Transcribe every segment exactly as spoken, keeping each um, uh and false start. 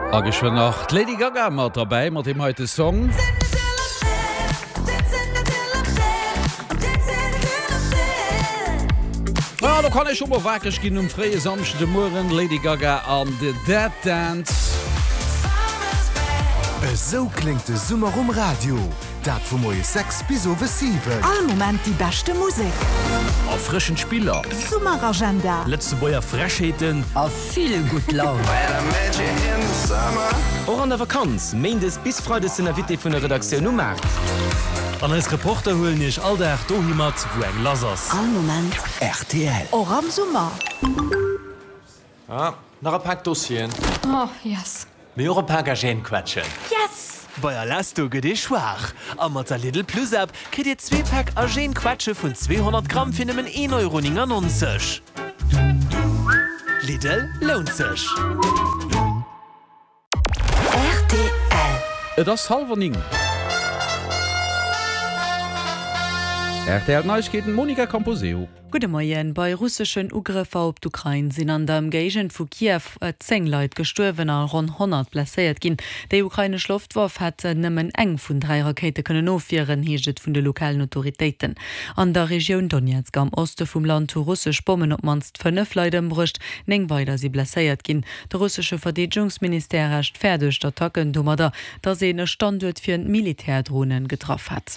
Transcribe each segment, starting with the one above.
A geschwënn nach d'Lady Gaga mat derbäi mat deem heite Song. Ah, do kann ee scho mol wakereg ginn um fréie Samschde Mueren, Lady Gaga an The Dead Dance. Esou kléngt de Summer um Radio, dat vu moies sechs bis owes siwen. All Moment déi beschte Musek. Erfrëschend Spiller. Summeragenda. Lëtzebuerger Frechheeten. A vill gutt Laun. Och an der Vakanz, Méindes bis Freides den Invité vun der Redaktioun um Maart. An eis Reporter huelen iech all Dag dohi mat, wou eng lass ass. All Moment. Rtl. Och am Summer. Ah, nach e Pak Dossieren. Oh, yes. Mee och e Pak Agène-Quetschen. Yes! Bei Alesto gëtt ee schwaach a mat der Lidl Plus App kritt Dir zwee Päck Agène Quetsche vun zweehonnert Gramm fir nëmmen een Euro néngannonzeg. Lidl, lount sech! Rtl. Et ass hallwer néng. Rtl Neiegkeeten, Monica Camposeo. Gudde Moien. Bei russeschen Ugrëffer op d'Ukrain sinn an der Ëmgéigend vu Kiew zéng Leit gestuerwen a ronn honnert blesséiert ginn. Déi ukrainesch Loftwaff hätt nëmmen eng vun dräi Rakéite kënnen ofwieren, heescht et vun de lokalen Autoritéiten. An der Regioun Donezk am Oste vum Land hu russesch Bommen op d'mannst fënnef Leit ëmbruecht, néng weider si blesséiert ginn. De russesche Verdeedegungsministère rechtfäerdegt d'Attacken domadder, datt een e Standuert fir Militärdronen getraff hätt.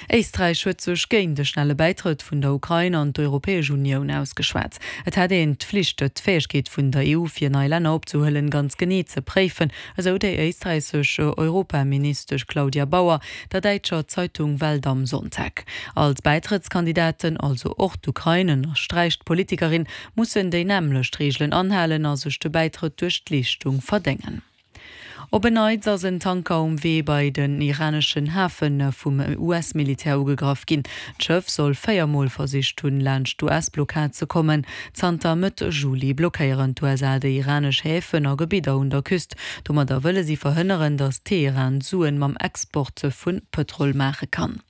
Éisträich huet sech géint e schnelle Bäitrëtt vun der Ukrain an d'Europäesch Unioun ausgeschwat. Et hätt een d'Flicht, d'Fäegkeet vun der E U fir nei Länner opzehuelen, ganz genee ze préifen, esou déi éisträichesch Europaministesch Claudia Bauer der däitscher Zeitung Welt am Sonntag. All d'Bäitrëttskandidaten, also och d'Ukrain, ënnersträicht d'Politikerin, mussen déi nämmlecht Reegelen anhalen a sech de Bäitrëtt duerch d'Leeschtung verdéngen. Op en Neits ass en Tanker um Wee bei den iraneschen Hafe vum U S-Militär ugegraff ginn. D'Schëff soll véier Mol versicht hunn, laanscht d'U S-Blockad ze kommen. Zanter Mëtt Juli blockéieren d'U S A déi iranesch Häfen a Gebidder un der Küst. Domadder wëlle si verhënneren, datt Teheran Suen mam Export vu Pëtrol maache kann.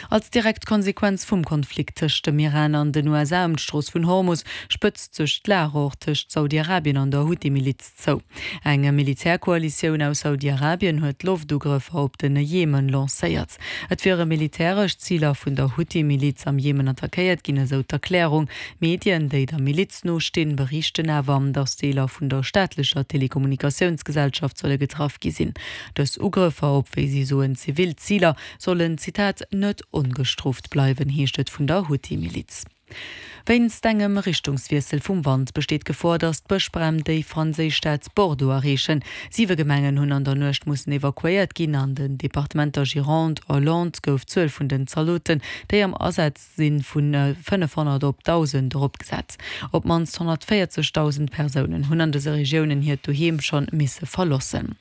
Als direkt Konsequenz vum Konflikt tëscht dem Iran an den U S A ëm d'Strooss vun Hormus spëtzt sech d'Lag och tëscht Saudi-Arabien an der Huthi-Miliz zou. Eng Militärkoalitioun aus Saudi-Arabien huet Loftugrëffer op de Jemen lancéiert. Et wiere militäresch Ziler vun der Huthi-Miliz am Jemen attackéiert ginn, esou d'Erklärung. Medien, déi der Miliz nostinn, berichten awer, datt Deeler vun der staatlecher Telekommunikatiounsgesellschaft solle getraff gi sinn. Dës Ugrëffer op, wéi si soen, zivil Ziler, sollen, Zitat, net ongestrooft bleiwen, heescht et vun der Huthi-Miliz. Wéinst engem Richtungswiessel vum Wand besteet d'Gefor, datt d'Bëschbränn déi franséisch Stad Bordeaux erreechen. Siwe Gemengen hunn an der Nuecht mussen evakuéiert ginn. An den Departementer Gironde a Landes gouf d'Zuel vun den Zaldoten, déi am Asaz sinn, vu fënnefhonnert op dausend eropgesat. Op d'mannst honnertvéierzegdausend Persounen hunn an dëse Regiounen hiert Doheem schonn misse verloossen.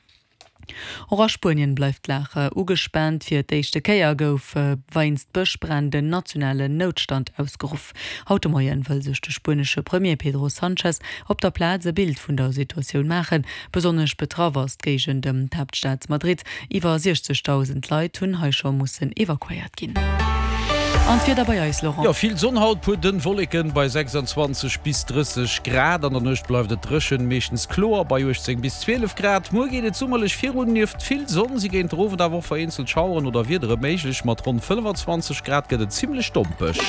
Och a Spuenien bleift d'Lag ugespaant. Fir d'éischte Kéier gouf wéinst Bëschbränn den nationalen Noutstand ausgeruff. Haut de Moien wëll sech de spuenesche Premier Pedro Sanchez op der Plaz e Bild vun der Situatioun maachen. Besonnesch betraff ass d'Géigend ëm d'Haaptstad Madrid. Iwwer siechzegdausend Leit hunn hei scho mussen evakuéiert ginn. An d'Wieder bei eis, Laurent. Jo, vill Sonn haut, puer dënn Wolleken bei sechsanzwanzeg bis drësseg Grad. An der Nuecht bleift et dréchen, meeschtens kloer bei uechtzéng bis zwielef Grad. Muer geet et summerlech virun, nieft vill Sonn si géint den Owend awer och vereenzelt Schaueren oder Wiedere méiglech. Mat ronn fënnefazwanzeg Grad gëtt et zimmlech dompeg.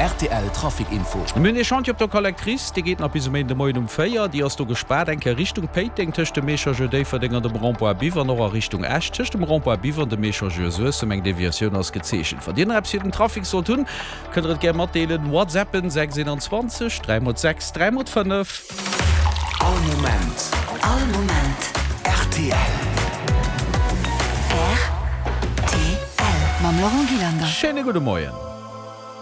Rtl Trafic Info. Mir hunn ee Chantier op der Collectrice, dee geet nach bis e Méinde Moien um véier. Déi ass do gespaart, eng Kéier Richtung Péiteng tëscht dem Echangeur Déifferdeng an dem Rond-point Biwer an och a Richtung Esch tëscht dem Rond-point Biwer an dem Echangeur Suessem. Eng Deviatioun ass gezeechent. Wann Dir nach eppes fir den Trafic sollt hunn, kënnt der et gär matdeelen. WhatsAppen sechs einundzwanzeg dräi mol sechs dräi mol fënnef. All Moment. All Moment. Rtl. Rtl. Mam Laurent Gillander. Schéine gudde Moien.